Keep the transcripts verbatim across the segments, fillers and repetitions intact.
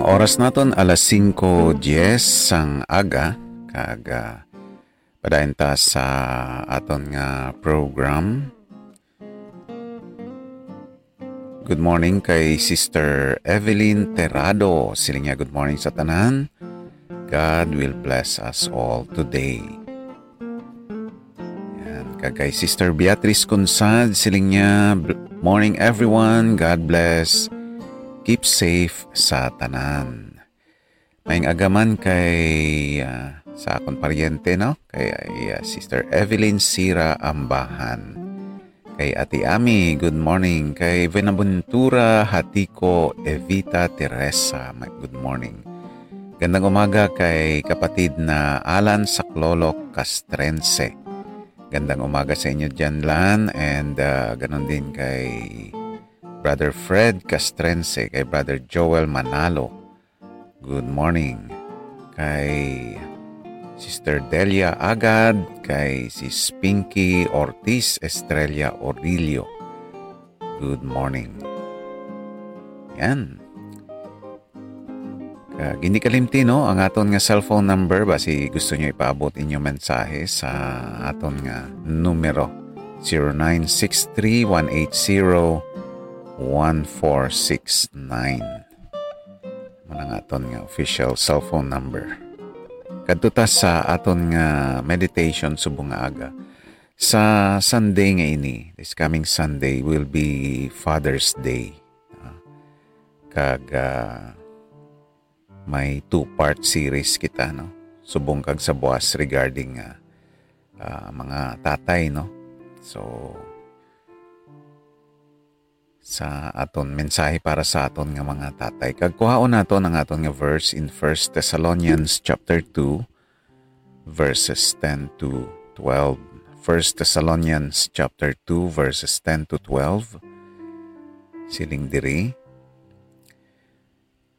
Oras naton alas singko diez sang aga, kag, ah, padayon ta sa aton nga program. Good morning kay Sister Evelyn Terrado. Siling niya, "Good morning sa tanan. God will bless us all today." Yan. Kag kay Sister Beatrice Cunsad, siling niya, "Bl-, morning everyone. God bless. Keep safe sa tanan." Maayong aga man kay, ah, sa akon paryente, no? Kay, ah, Sister Evelyn Sira Ambahan. Kay Ate Ami, good morning. Kay Buenaventura Hatiko Evita Teresa, ma-, good morning. Gandang umaga kay kapatid na Alan Saklolo Castrense. Gandang umaga sa inyo dyan, Lan, and, ah, ganun din kay Brother Fred Castrense, kay Brother Joel Manalo. Good morning. Kay Sister Delia Agad, kay Sis Pinky Ortiz Estrella Orillo. Good morning. Yan. Kag hindi kalimti, no, ang aton nga cellphone number, basi gusto nyo ipaabot inyong mensahe sa aton nga numero, zero nine six three one eight zero one four six nine. Mao na nga aton nga official cellphone number. Kadto ta sa aton nga meditation subong nga aga. Sa Sunday nga ini, this coming Sunday will be Father's Day. Ah, kag, ah, may two-part series kita, no? Subong kag sa buas regarding, ah, ah, mga tatay, no? So, sa aton mensahe para sa aton nga mga tatay. Kag kuhaon naton ang aton nga verse in First Thessalonians chapter two, verses ten to twelve. First Thessalonians chapter two, verses ten to twelve. Siling diri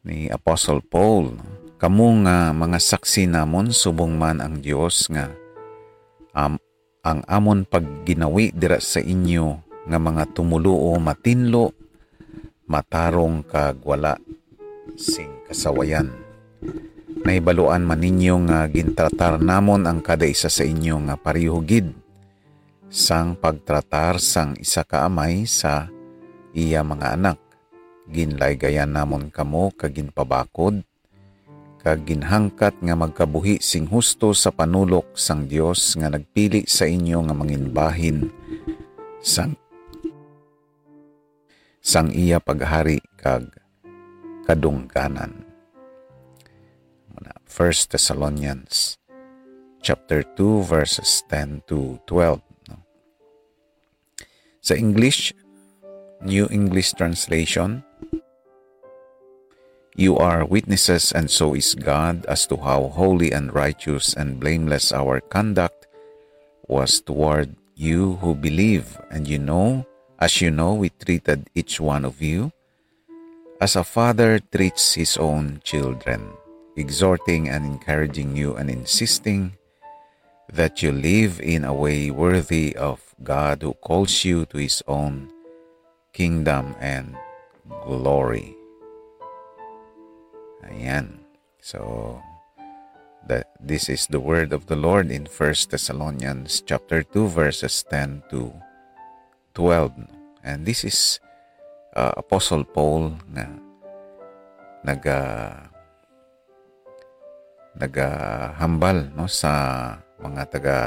ni Apostle Paul, "Kamo nga mga saksi namon, subong man ang Dios nga am-, ang amon pagginawi dira sa inyo nga mga tumoluo matinlo, matarong kag wala sing kasawayan. Nahibaluan man ninyo nga gintratar namon ang kada isa sa inyo nga pareho gid sang pagtratar sang isa ka amay sa iya mga anak. Ginlaygayan namon kamo kag ginpabakod, kag ginhangkat nga magkabuhi sing husto sa panulok sang Dios nga nagpili sa inyo nga manginbahin sang, sang iya paghari kag kadungganan." Muna, First Thessalonians chapter two, verses ten to twelve, no? Sa English, New English Translation, "You are witnesses, and so is God, as to how holy and righteous and blameless our conduct was toward you who believe. And you know, as you know, we treated each one of you as a father treats his own children, exhorting and encouraging you and insisting that you live in a way worthy of God who calls you to his own kingdom and glory." Ayan. So, the, this is the word of the Lord in First Thessalonians chapter two, verses ten to twelve. And this is, uh, Apostle Paul nga naga-, nagahambal, no, sa mga taga,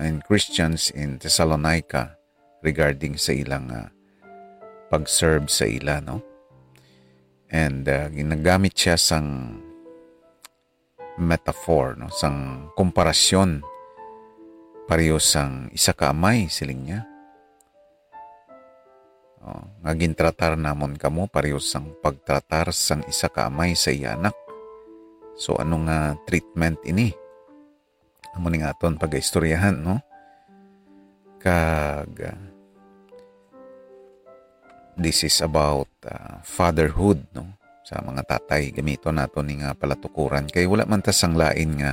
and Christians in Thessalonica regarding sa ilang, ah, pag-serve sa ila, no? And, ah, ginagamit siya sang metaphor, no, sang komparasyon, pareho sang isa ka amay, siling niya. Oh, nga gintratar namon kamo pareho sang pagtratar sang isa ka amay sa iya anak. So, ano nga treatment ini? Amo ning aton pagaistoryahan, no? Kag, ah, this is about, ah, fatherhood, no? Sa mga tatay, gamiton nato ni nga palatukuran. Kay wala man ta sang lain nga,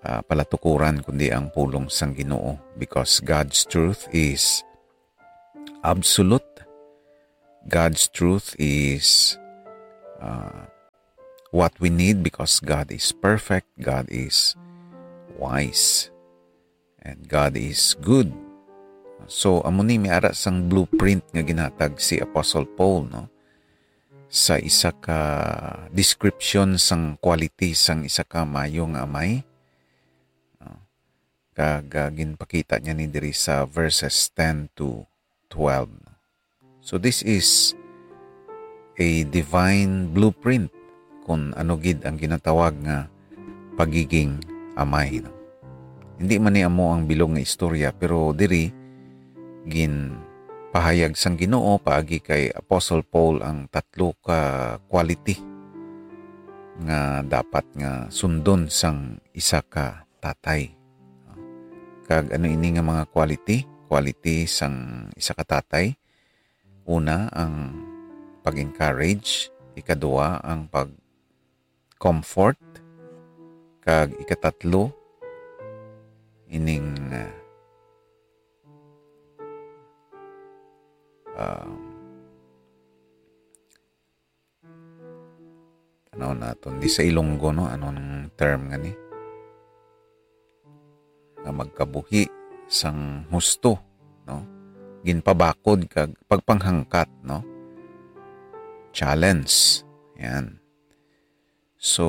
ah, palatukuran, kundi ang pulong sang Ginoo. Because God's truth is absolute. God's truth is, ah, what we need because God is perfect, God is wise, and God is good. So, amo ni may ara sang blueprint nga ginhatag si Apostle Paul, no? Sa isa ka description sang quality sang isa ka maayo nga amay, no? Kag, ah, ginpakita niya ni diri sa verses ten to twelve. So, this is a divine blueprint kung ano gid ang ginatawag nga pagiging amay, no? Hindi man ni amo ang bilog nga istorya, pero diri ginpahayag sang Ginoo paagi kay Apostle Paul ang tatlo ka quality nga dapat nga sundon sang isa ka tatay. Kag ano ini nga mga quality? Quality sang isa ka tatay. Una, ang pag-encourage. Ikaduha, ang pag-comfort. Kag ikatatlo, ining, ah, um, tanaw naton. Di sa Ilonggo, no? Ano ang term nga ni? Nga magkabuhi sang husto, no? Ginpabakod kag pagpanghangkat, no? Challenge. Yan. So,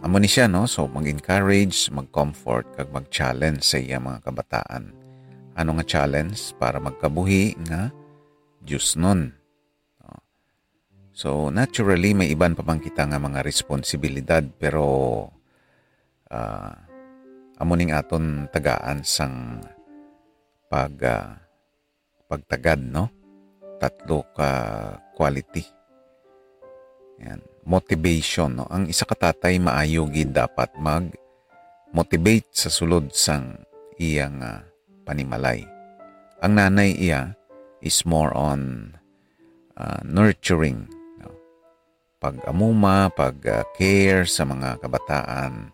amo ni siya, no? So, mag-encourage, mag-comfort, kag mag-challenge sa iya mga kabataan. Ano nga challenge? Para magkabuhi nga diosnon. So, naturally, may iban pa man kita nga mga responsibilidad, pero, ah, amo ning aton tagaan sang pag, ah, pagtagad, no? Tatlo ka quality. Yan. Motivation, no? Ang isa ka tatay maayo gid dapat mag-motivate sa sulod sang iya nga panimalay. Ang nanay iya is more on, ah, nurturing, no? Pag-amuma, pag, ah, care sa mga kabataan,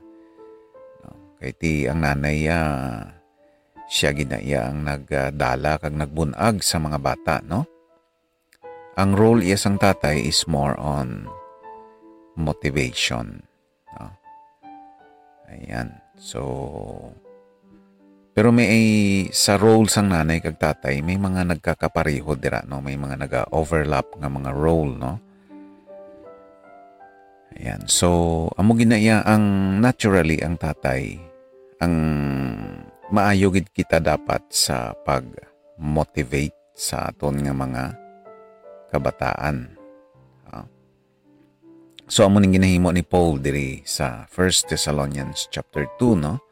no? Kay ti ang nanay, ah, siya gid na iya ang nagdala kag nagbun-ag sa mga bata, no? Ang role iya sang tatay is more on motivation, no? Ayan. So, pero may, sa role sang nanay kag tatay, may mga nagkakapareho dira, no? May mga naga-overlap nga mga role, no? Ayan. So, amo gid na iya ang naturally ang tatay, ang maayo gid kita dapat sa pag-motivate sa aton nga mga kabataan. Ah. So, amo ning ginahimo ni Paul diri sa First Thessalonians chapter two, no?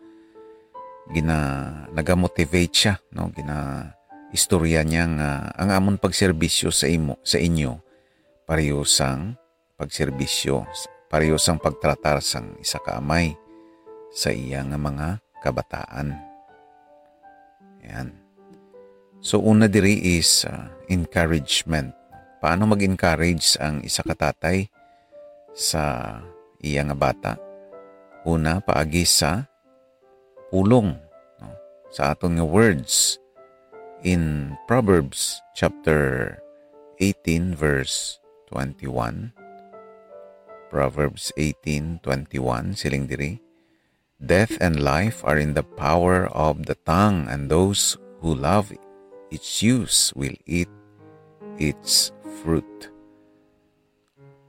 Gina-, nagamotivate siya, no? Gina-, istorya niya nga ang amon pagserbisyo sa imo, sa inyo, pareho sang pagserbisyo, pareho sang pagtratar sang isa ka amay sa iya nga mga kabataan. Yan. So, una diri is, ah, encouragement. Paano mag-encourage ang isa ka tatay sa iya nga bata? Una, paagi sa pulong, no? Sa aton nga words, in Proverbs chapter eighteen, verse twenty-one. Proverbs eighteen twenty-one, siling diri, "Death and life are in the power of the tongue, and those who love its use will eat its fruit."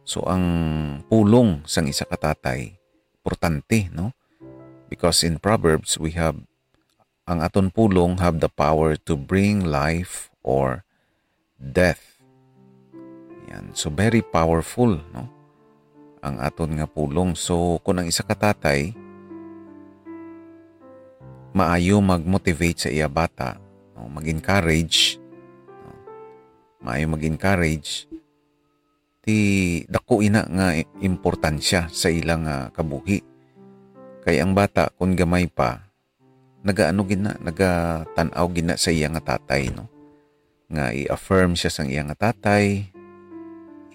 So, ang pulong sang isa ka tatay, importante, no? Because in Proverbs, we have, ang aton pulong have the power to bring life or death. Yan. So, very powerful, no? Ang aton nga pulong. So, kung ang isa ka tatay, maayo mag-motivate sa iya bata, no? Mag-encourage, no? Maayo mag-encourage, ti dako ina nga importansya sa ila nga kabuhi. Kay ang bata, kun gamay pa, nagaano gid na, nagatan-aw gid na sa iya nga tatay, no? Nga i-affirm siya sang iya nga tatay,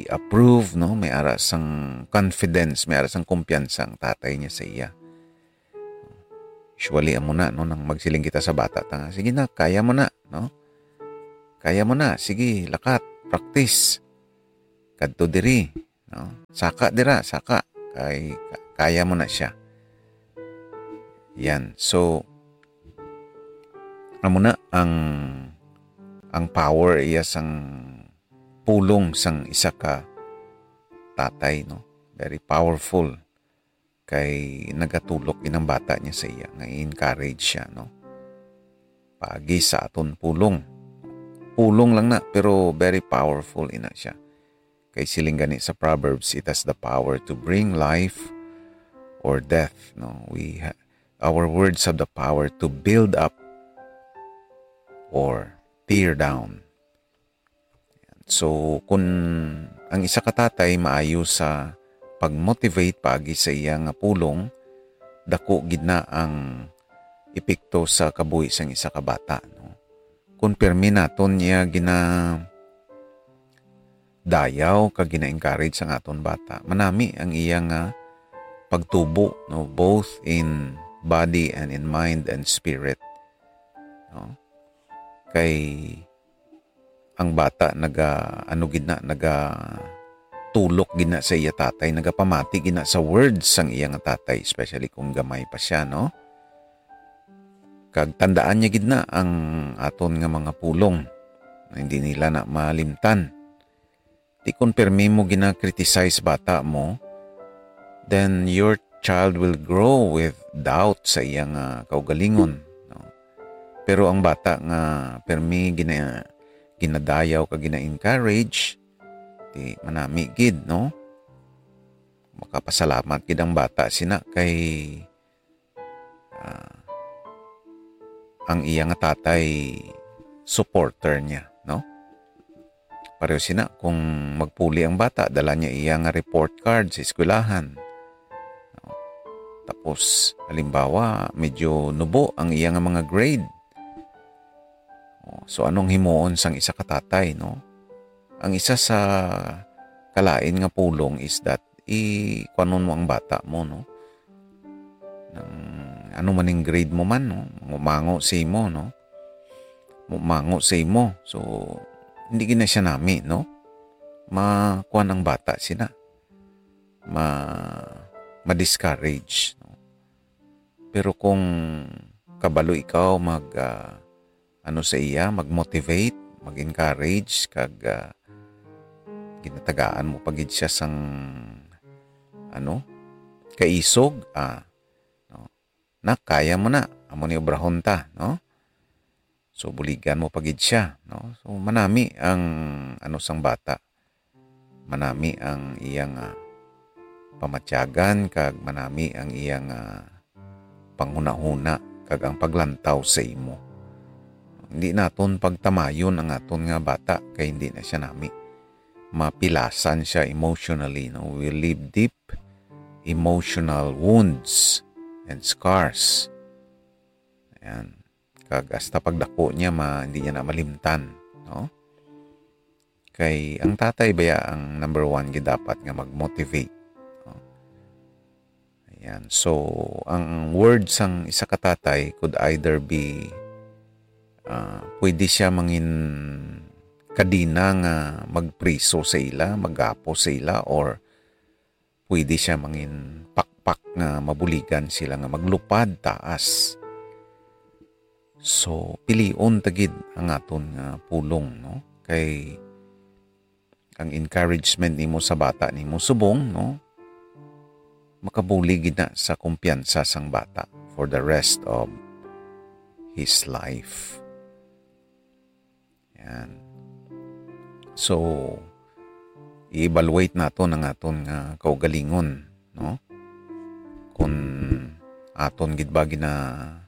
i-approve, no? May ara sang confidence, may ara sang kumpiyansa ang tatay niya sa iya. Usually, amo na, no? Nang magsiling kita sa bata, ta nga, "Sige na, kaya mo na, no? Kaya mo na, sige, lakat, practice. Kadto diri, No? Saka dira, saka. Kay ka-, kaya mo na siya. Yan. So, amo na ang, ang power iya sang pulong sang isa ka tatay, no? Very powerful. Kay nagatulok gid ang bata niya sa iya, nga i-encourage siya, no? Paagi sa aton pulong. Pulong lang na, pero very powerful ina siya. Kay siling gani sa Proverbs, it has the power to bring life or death, no? We ha-, our words have the power to build up or tear down. So, kun ang isa ka tatay maayo sa pag-motivate paagi sa iya nga pulong, dako gid na ang epekto sa kabuhi sang isa ka bata, no? Kun pirmi naton niya gina-, dayaw kag gina-encourage ang aton bata, manami ang iya nga pagtubo, no, both in body and in mind and spirit, no? Kay ang bata naga, ano gid na, naga tulok gid na sa iya tatay, nagapamati gid na sa words sang iya nga tatay, especially kung gamay pa siya, no? Kag tandaan niya gid na ang aton nga mga pulong, na hindi nila na malimtan. Di kun pirmi mo gina-criticize bata mo, then your child will grow with doubt sa iya nga kaugalingon, no? Pero ang bata nga pirmi gina-, ginadayaw kag gina-encourage, di manami gid, no? Makapasalamat gid ang bata sina kay, ah, ang iya nga tatay supporter niya, no? Pareho sina, kung magpuli ang bata, dala niya iya nga report card sa eskwelahan. No? Tapos, halimbawa, medyo nubo ang iya nga mga grade. O, so, anong himuon sang isa ka tatay, no? Ang isa sa kalain nga pulong is that i-, kuwanon mo ang bata mo, no? Nang, ano man ning grade mo man, no? Mumango sa imo, no? Mumango sa imo. So, hindi gid na siya nami, no? Ma-, kuwan ang bata sina. Ma-, ma-discourage, no? Pero kung kabalo ikaw mag, ah, ano sa iya, mag-motivate, mag-encourage, kag, ah, ginatagaan mo pa gid siya sang, ano, kaisog, ah, no? "Nak, kaya mo na, amo ni obrahon ta," no? So, buligan mo pa gid siya, no? So, manami ang, ano, sang bata. Manami ang iyang, ah, pamatyagan, kag manami ang iyang, ah, panghunahuna, kag ang paglantaw sa imo. Hindi naton pagtamayon ang aton nga bata, kay hindi na siya nami. Mapilasan siya emotionally, no? We leave deep emotional wounds and scars. Ayan. Kag hasta pagdako niya, ma-, hindi niya na malimtan, no? Kay ang tatay baya ang number one gid dapat nga mag-motivate, no? Ayan. So, ang word sang isa ka tatay could either be, ah, pwede siya mangin kadena nga magpriso sa ila, maggapo sa ila, or pwede siya mangin pakpak nga mabuligan sila nga maglupad taas. So, pilion ta gid ang aton nga pulong, no? Kay ang encouragement nimo sa bata nimo subong, no? Makabulig gid na sa kumpiyansa sang bata for the rest of his life. Yan. So, i-evaluate naton ang aton nga kaugalingon, no? Kung aton gid ba gina-motivate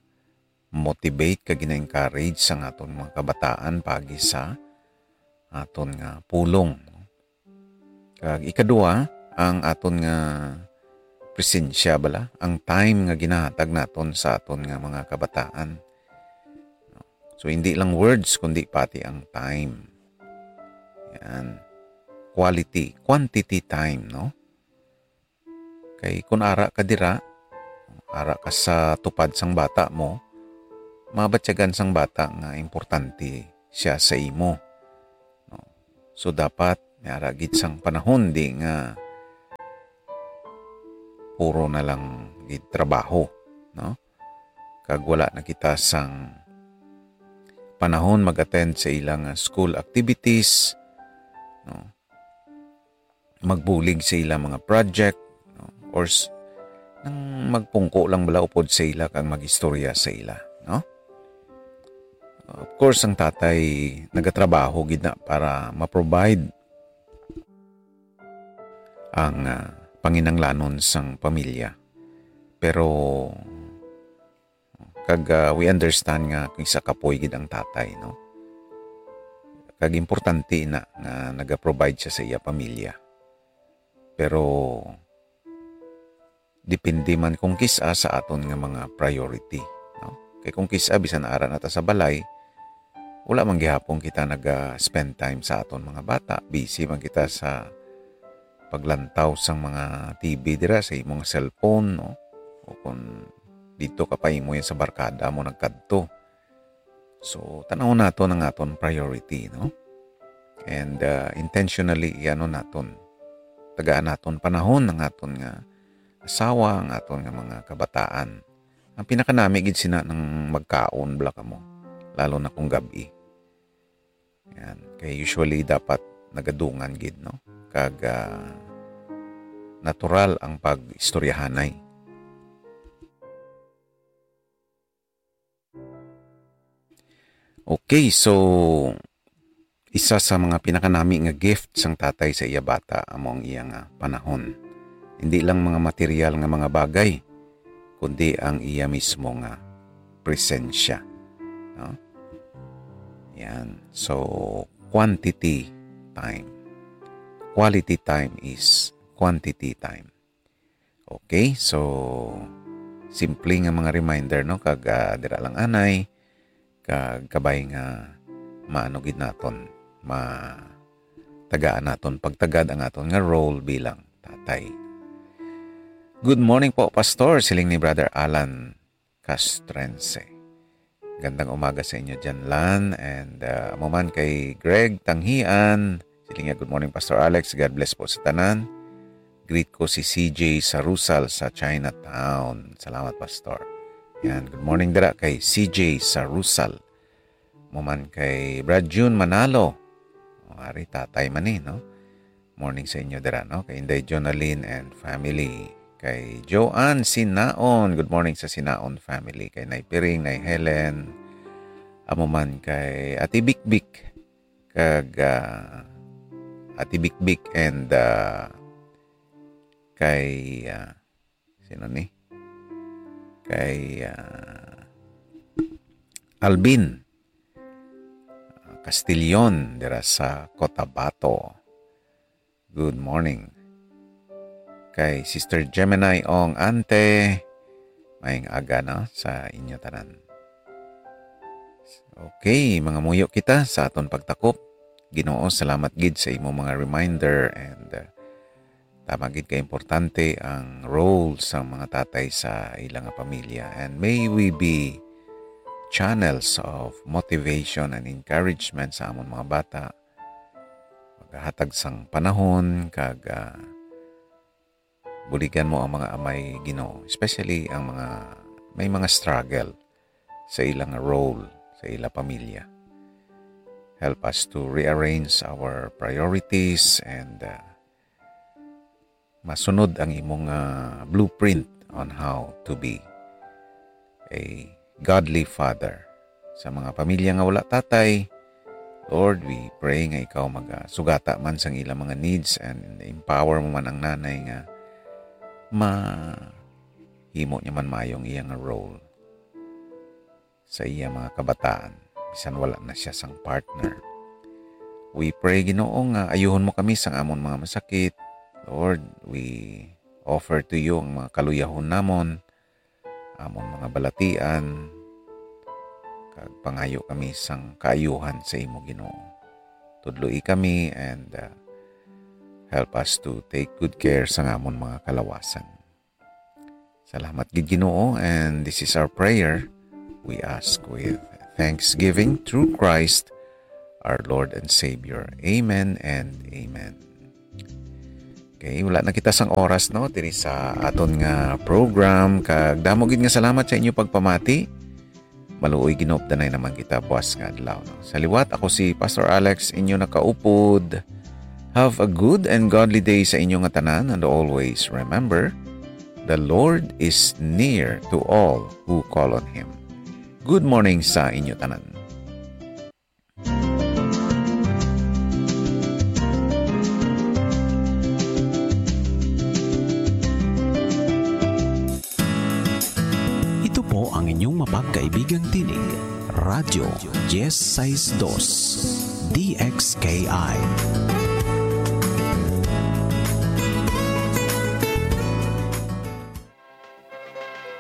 kag gina-encourage sang aton mga kabataan paagi sa aton nga pulong, no? Kag ikadua, ang aton nga presensya bala, ang time nga ginahatag naton sa aton nga mga kabataan. So, hindi lang words, kundi pati ang time. Yan. Quality, quantity time, no? Kay kun ara ka dira, ara ka sa tupad sang bata mo, mabatyagan sang bata nga importante siya sa imo. No? So, dapat may ara gid sang panahon di nga puro na lang gid trabaho, no? Kag wala na kita sang panahon mag-attend sa ilang, ah, school activities, no? Magbulig sa ilang mga project, no? Or s-, nang magpungko lang bala upod sa ila kag mag-istorya sa ila, no? Of course, ang tatay nagatrabaho gid na para ma-provide ang, ah, panginanglanon sang pamilya. Pero, kag, ah, we understand nga kung isa kapoy gid ang tatay, no? Kag importante na nga naga-provide siya sa iya pamilya. Pero, depende man kung kis-a sa aton nga mga priority, no? Kay kung kis-a, bisan ara na ta sa balay, wala man gihapon kita naga-spend time sa aton mga bata. Busy man kita sa paglantaw sang mga T V dira sa imong cellphone, no? O kung dito ka pa imo yan sa barkada mo nagkadto. So, tanawon naton ang aton priority, no? And, uh, intentionally, iano naton. Tagaan naton panahon ang aton nga asawa, ang aton nga mga kabataan. Ang pinakanami gid sina nang magkaon bala kamo, lalo na kung gab-i. Yan. Kay usually dapat nagadungan gid, no? Kag, ah, natural ang pag-istoryahanay. Okay, so isa sa mga pinakanami nga gift sang tatay sa iya bata amo ang iya nga panahon. Hindi lang mga material nga mga bagay, kundi ang iya mismo nga presensya, no? Yan. So, quantity time. Quality time is quantity time. Okay, so simple nga mga reminder, no? Kag, ah, dira lang anay, kag kabay nga maano gid naton, ma-, tagaan naton pagtagad ang aton nga role bilang tatay. "Good morning po, Pastor," siling ni Brother Alan Castrense. Gandang umaga sa inyo dyan, Lan. And, uh, amo man kay Greg Tanghian. Siling niya, "Good morning, Pastor Alex. God bless po sa tanan. Greet ko si C J Sarusal sa Chinatown." Salamat, Pastor. Yan, good morning dira kay C J Sarusal. Amo man kay Brad June Manalo. O, ari, tatay man ni, no? Morning sa inyo dira, no? Kay Inday Jonalyn and family. Kay Joanne Sinaon, good morning sa Sinaon family. Kay Nay Piring, Nay Helen, amo man kay Ate Bikbik, kag, ah, Ate Bikbik and, ah, kay, ah, sino ni? Kay, ah, Alvin, ah, Castillon, dira sa Cotabato. Good morning. Kay Sister Gemini Ong Ante, maayong aga, no, sa inyo tanan. Okay, mangamuyo kita sa aton pagtakop. Ginoo, salamat gid sa imo mga reminder and, uh, tama gid ka importante ang role sa mga tatay sa ilang pamilya. And may we be channels of motivation and encouragement sa amon mga bata. Maghatag sang panahon kag, ah, buligan mo ang mga amay, Ginoo, especially ang mga may mga struggle sa ilang role sa ila pamilya. Help us to rearrange our priorities and, uh, masunod ang imong, uh, blueprint on how to be a godly father. Sa mga pamilya nga wala tatay, Lord, we pray nga ikaw magasugata man sang ilang mga needs and empower mo man ang nanay nga mahimo niya man maayong iyang role sa iya mga kabataan, bisan wala na siya sang partner. We pray, Ginoo, nga ayuhon mo kami sang amon mga masakit. Lord, we offer to you ang mga kaluyahon namon, amon mga balatian, kag pangayo kami sang kaayuhan sa imo, Ginoo. Tudloi kami and, uh, help us to take good care sang amon mga kalawasan. Salamat gid, Ginoo, and this is our prayer. We ask with thanksgiving through Christ, our Lord and Savior. Amen and amen. Okay, wala na kita sang oras, no, diri sa aton nga program. Kag damo gid nga salamat sa inyo pagpamati. Maluoy ginupdanay naman kita buwas nga adlaw, no? Sa liwat, ako si Pastor Alex, inyo nakaupod. Have a good and godly day sa inyo nga tanan, and always remember, the Lord is near to all who call on Him. Good morning sa inyo tanan. Ito po ang inyong mapagkaibigang tinig, Radyo Diez Seis Dos, D X K I.